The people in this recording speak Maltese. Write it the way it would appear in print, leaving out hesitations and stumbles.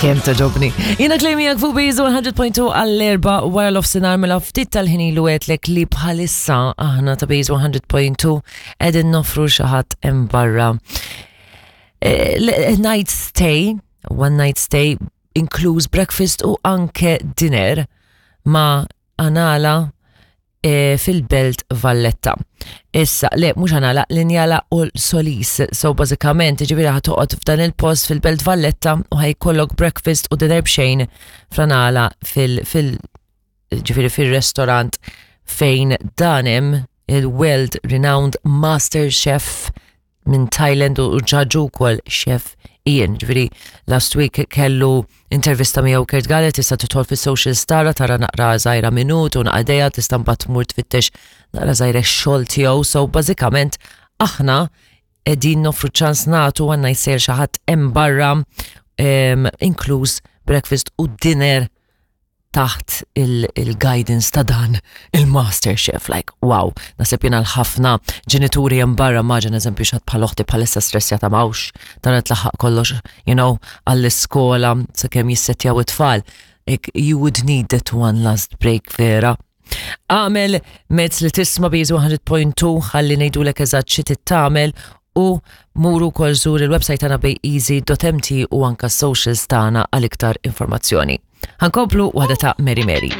Kemm togħġobni. Jiena Claire miegħek fuq Base 100.2 għall-erba wara l-ofsinar mela ftit tal-ħin ilu għedtlek li bħalissa aħna ta' Base 100.2 qegħdin noffru xi ħadd hemm barra. Eh, night stay, one night stay, inkluż breakfast u anke dinner ma' Anala e, fil-Belt Valletta. Issa, le, mhux Anala, l-Injala u l-Solis. So, bażikament, ġifieri ħa toqgħod f'dan il-post fil-Belt Valletta u ħa jkollok breakfast u dinner b'xejn fl-Anala fil-, fil ġifieri fil-restaurant fejn dan hemm il-world renowned master chef minn Thailand u ġaġu wkoll chef Ian. Ġifieri last week kellu intervista miegħu Kurt Gallet tista' tidħol fis-social tara tara naqra żgħira minut u naqdeja tista' mbagħad tmur tfittex naqra żgħira x-xogħol tiegħu. So bażikament aħna qegħdin noffru ċans nagħtu għandna jsir xi ħadd hemm barra inkluż breakfast u dinner taħt il-guidance ta' dan il-master chef, like, wow, naħseb jiena l-ħafna ġenituri hemm barra maġen eżempju xi ħadd bħal oħti bħalissa stressjata mawx, dan tlaħħaq kollox, you know, għall-iskola, sakemm jissettjaw it-tfal. You would need that one last break vera. Għamel mezz li tisma' Base 100.2 ħalli ngħidulek eżatt xi tagħmel u muru wkoll żur il-website tagħna bayeasy.mt u anka socials tagħna għal iktar informazzjoni. Ħa nkomplu waħda ta' Mary Mary.